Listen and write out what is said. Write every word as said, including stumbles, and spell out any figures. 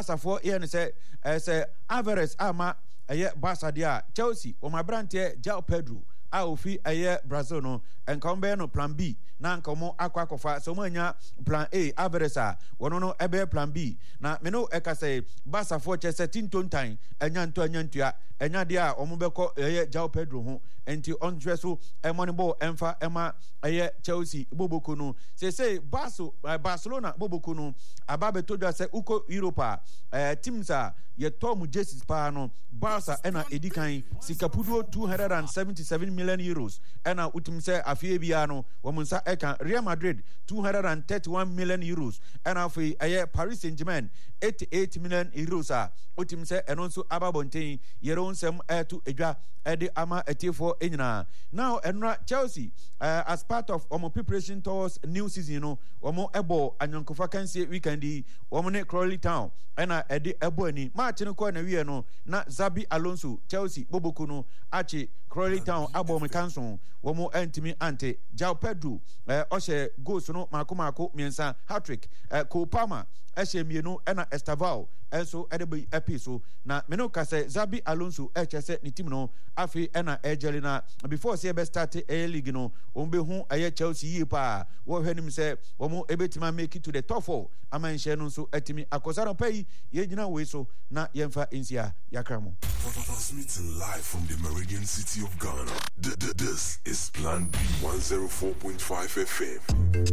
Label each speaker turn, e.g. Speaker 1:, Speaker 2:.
Speaker 1: Barcafoɔ yɛ no sɛ ɛɛ sɛ Alvarez ama ɛyɛ Barca deɛ a, Chelsea wɔn aberanteɛ João Pedro a ofi ɛyɛ Brazil no, nka wɔn bɛyɛ no plan B na nka wɔn akɔ akɔfa. Sɛ wɔn anya plan A Alvarez a, wɔn no ɛbɛyɛ plan B. Na me no ɛka sɛ Barcafoɔ kyɛ sɛ tintontan ɛnya ntɔ ɛnya ntua, ɛnya deɛ a wɔn bɛkɔ ɛyɛ João Pedro ho, nti ɔnhwɛ so ɛmɔ ne bɔɔl ɛmfa ɛma ɛyɛ Chelsea boboko no. Seesei Barcelona boboko no aba abɛtɔ dwa sɛ wokɔ Europe a, eh, teams a yɛtɔ mu jerseys paa no, Barca ɛna ɛdi kan, sikapuduo two hundred and seventy-seven million euros ɛna wotumi sɛ afeɛ biara no wɔn nsa ɛka. Real Madrid two hundred and thirty-one million euros, ɛna afei ɛyɛ Paris Saint-Germain eighty-eight million euros a wotumi sɛ ɛno nso aba abɔnten. Yɛrɛ wo nsɛm ɛto edwa ɛde ama atiefoɔ nyinaa. Now ɛnora Chelsea, uh, as part of wɔn preparation towards new season no, wɔn ɛbɔ anyɔnkofa kansie weekend yi. Wɔn ne Crawley Town ɛna ɛde ɛbɔ ani. Match no kɔɔ na wie no na Xabi Alonso Chelsea boboko no akye Crawley Town abɔ wɔn kanso, wɔn ɛntumi ante. João Pedro ɛɛ ɔhyɛ goals no mako mako mmiɛnsa, hat-trick. ɛɛ Cole Palmer ɛhyɛ mmienu, ɛna Estevao ɛnso ɛde bi ɛpii so. Na mene ka sɛ Xabi Alonso ɛkyɛ sɛ ne team no afei ɛna ɛgyɛle na before sɛ yɛbɛ start ɛyɛ league no, wɔn bɛhu ɛyɛ Chelsea yie paa. Wɔhwɛ nim sɛ wɔn ɛbɛtumi make it to the top four ama nhyɛn no nso atumi akɔ saa. Nɔpɛ yi yɛgyina wei so na yɛmfa nsia yɛakra mo.
Speaker 2: Transmitting live from the Meridian City of Ghana. This is Plan B one zero four point five F M.